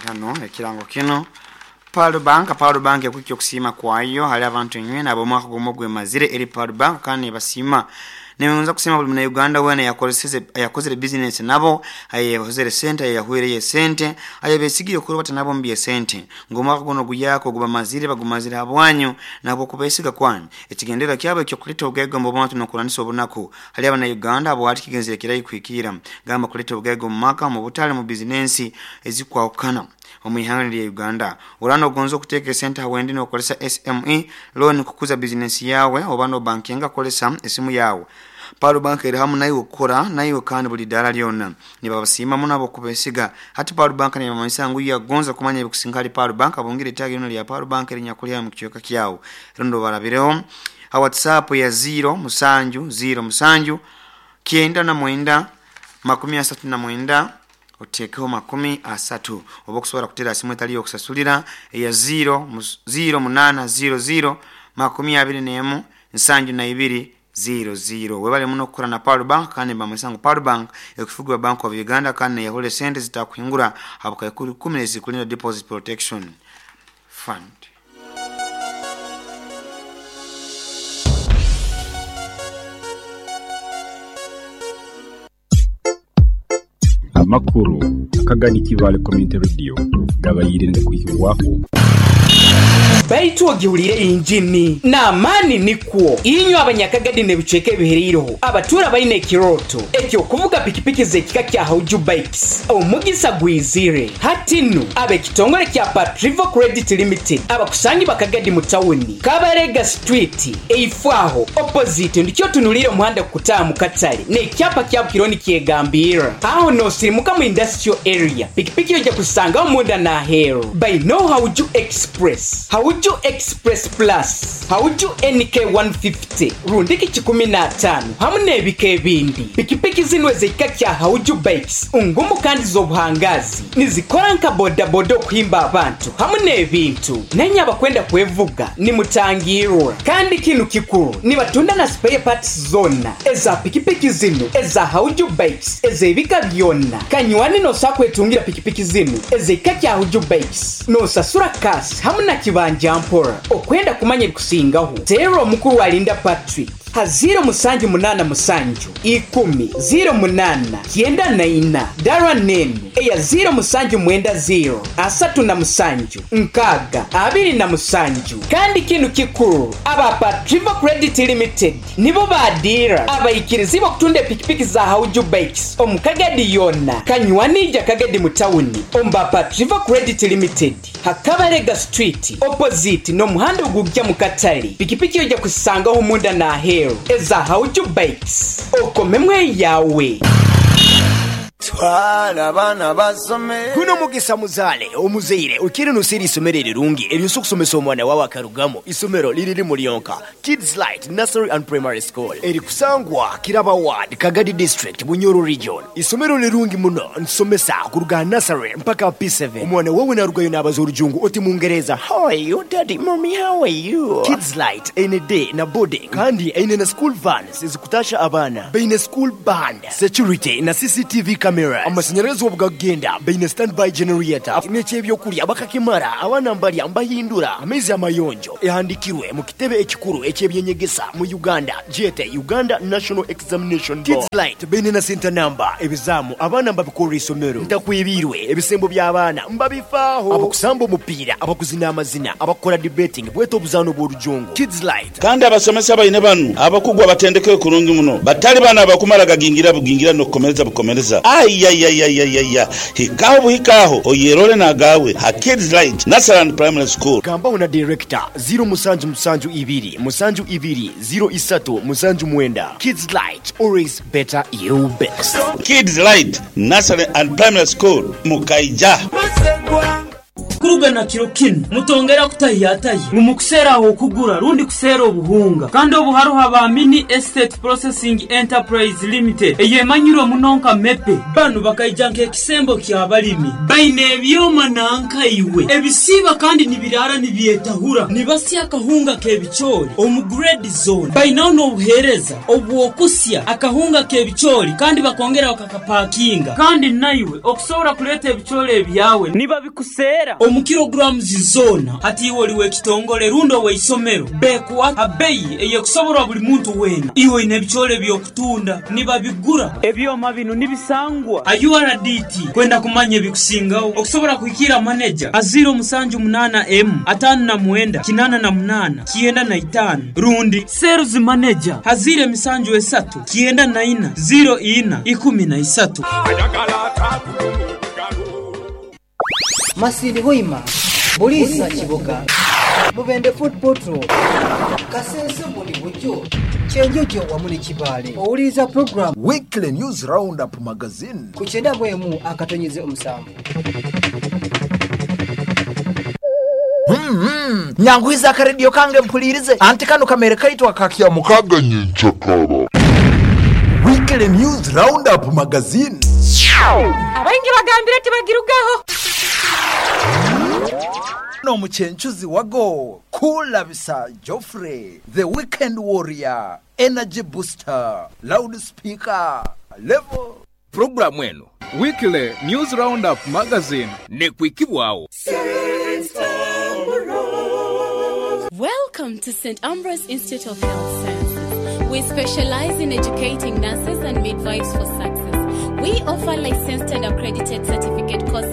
Hano ekirango kinu Pearl Bank Pearl Bank ekuhikya okusiima kwayo hali abantu inywena ab'omwaka gumu ogwemazire eri Pearl Bank kandi nebasiima. Negonza kusiima buli munauganda weena ayakozeseze ayakozere bizinesi nabo, ayehozere sente, ayeyahwireyo esente, ayebesigire okurubata nabo omu by'esente ngu omwaka gunu oguyaka ogubamazire bagumazire habwanyu nahabw'okubesiga kwanyu. Ekigendererwa kyabo eky'okuleta obugaiga omu bantu n'okurwanisa obunaku hali abanauganda habwaki kigenzere kirahi kuhikiira gamba kuleta obugaiga omu maka, omu butale, omu bizinensi ezikwahukana omu ihanga lya Uganda. Oraba nogonza okuteeka esente ha wendi nokozesa SME loan kukuza bizinensi yaawe oba nobankinga kozesa esimu yaawe. Pearl Bank eri hamu naiwe kukora naiwe kandi buli daara lyona. Nibabasiima muno habwokubesiga. Hati Pearl Bank nebamanyisa ngu yagonza kumanya ebikusinga hali Pearl Bank abungire itaagi linu lya Pearl Bank erinyakuli haihi mukicweka kyawe rundi obarabireho ha WhatsApp ya ziiro musanju ziiro musanju 99 39 otekeho 30 oba okusobora kutera ha simu etali yokusasulira eya ziiro ziiro munana ziiro ziiro 21 72 ziiro ziiro. Webale muno kukora na Pearl Bank kandi nibamanyisa ngu Pearl Bank ekufugibwa Bank of Uganda kandi neyahura esente ezitakuhingura ha bukaikuru ikumi ezikulinda Deposit Protection Fund. Amakuru akagani Kibaale Community Radio gabaire nigakwihibwaho. Baitu ogihuliire yinjini n'amaani nikwo inywe Abanyakagadi n'ebicweka ebihereireho abatuura baine ekirooto eky'okuvuga pikipiki z'ekika kya Hauju Bikes. Omugisa gwizire hati nu ab'ekitongole kya Patrivo Credit Limited abakusangibwa Kagadi mu tawuni, Kabarega Street, eifo aho, opposite, ndikyo otunuliire omuhanda gukutaaha mu katale n'ekyapa kyabu kiriho nikyegambirra. Aho n'osirimuka mu Industrial Area, pikipiki oija kuzisangaho munda n'aheeru. Bainho Hauju Express, Hauju Express Plus, Hauju NK 150 rundiki kikumi n'ataanu hamu n'ebika ebindi. Pikipiki zinu ez'ekika kya Hauju Bikes ngumu kandi z'obuhangaazi. Nizikora nka bodaboda okuhimba abantu hamu n'ebintu. Nainye abakwenda kwevuga nimutangirwa. Kandi kinu kikuru, nibatunda na spare parts zoona eza pikipiki zinu eza Hauju Bikes ez'ebika byona. Kanywani nosobola kwetungira pikipiki zinu ez'ekika kya Hauju Bikes nosasura cash hamu na kibanja mpora. Okwenda kumanya ebikusingaho, teera omukuru Alinda Patrick ha ziiro musanju munaana musanju ikumi ziiro munaana kyenda na ina dara n'enu eya ziiro musanju mwenda ziiro 37 6 27. Kandi kinu kikuru, aba Patrivo Credit Limited nibo ba diira abaikirizibwa okutunda epikipiki za Hauju Bikes omu Kagadi yoona. Kanywani ija Kagadi mu tawuni omu ba Patrivo Credit Limited ha Kabalega Street opposite n'omuhanda ogugya mu katale. Pikipiki oija kuzisangaho munda n'aheeru eza Hauju Bikes. Okomemu eyawe. Twala abaana basome. Guno mugisa muzaale omuzaire okiire noseera eisomero erirungi eryosobola okusomesa omwana wawe akarugamu. Isomero liri limu lyonka, Kids Light Nursery and Primary School erikusangwa Kiraba Ward, Kagadi District, Bunyoro Region. Isomero lirungi muno, nitusomesa kuruga aha nursery mpaka aha P7. Omwana wawe narugayo nabaza orujungu oti mungereza, How are you daddy, mummy how are you? Kids Light eine day na boarding kandi eine na school vans ezikutasha abaana. Baine school band, security na CCTV cameras. Amasanyarazi obu gakugenda baine standby generator. N'eky'ebyokulya bakakimara, abaana mbalya mbahindura. Amaizi amayonjo. Ehandikirwe mu kitebe ekikuru eky'ebyenyegesa mu Uganda gyete Uganda National Examination Board. Kids Light baine na senta namba, ebizaamu abaana mbabikorra isomero. Ntakwebiirwe, ebisembo by'abaana mbabifaaho. Abakusamba omupiira, abakuzina amazina, abakukora debating bwete obuzaano bw'orujungu. Kids Light. Kandi abasomesa baine banu abakugu abatendekeirwe kurungi muno, batali banu abakumara gagingira bugingira n'okukomereza bukomereza. Aiaiaiaiaia! Hikaho buhika aho oyerole n'agaawe ha Kids Light Nursery and Primary School. Gambaho na Director, ziiro musanju musanju ibiri musanju ibiri ziiro isatu musanju mwenda. Kids Light, always better you best. Kids Light Nursery and Primary School, Mukaija. Kuruga na kiro kinu mutongera kutahiyatahi ngu mukuseera okugura rundi kuseera obuhunga. Kandi obu haruho aba Mini Estate Processing Enterprise Limited eyemanyirwe muno nka MEPE. Banu bakaija nk'ekisembo ky'abalimi. Baine ebyoma nankaiwe ebisiiba kandi nibiraara nibyetahura, nibasya akahunga k'ebicoori omu grade zone. Bainaho n'obuheereza obw'okusya akahunga k'ebicoori kandi bakongera bakakapakinga. Kandi naiwe okusobora kuleeta ebicoori ebyawe nibabikuseera omu kilograms zoona. Hati iwe oli w'ekitongole rundi ow'eisomero, beekuha ha beeyi ey'ekusoborwa buli muntu weena. Iwe oine ebicoori eby'okutunda, nibabigura. Ebyoma binu nibisangwa ha URDT. Kwenda kumanya ebikusingaho, okusobora kuhikiira maneja ha 078 M 59 88 95 rundi sales manager ha 073 94 04 13. Masindi Hoima, Buliisa Kiboga, Mubende Fort Portal, Kasese Bundibugyo, Kyenjojo wamu ni Kibaale. Owuliriza pulogulaamu. Weekly News Roundup Magazine. Ku kyenda mu emu akatonyeze omusanvu. Nyanguhiza akarediyo kange mpulirize anti kano kamere kaitu aka Kyamukaga nyenkyakara. Weekly News Roundup Magazine. Abaingi bagambire tibagirugaho. N'omucencuzi wago Kulabisa Geoffrey, the weekend warrior, energy booster, loud speaker, level. Pulogulaamu eno Weekly News Roundup Magazine n'ekwikibwagho. Welcome to St. Ambrose Institute of Health Sciences. We specialize in educating nurses and midwives for success. We offer licensed and accredited certificate courses.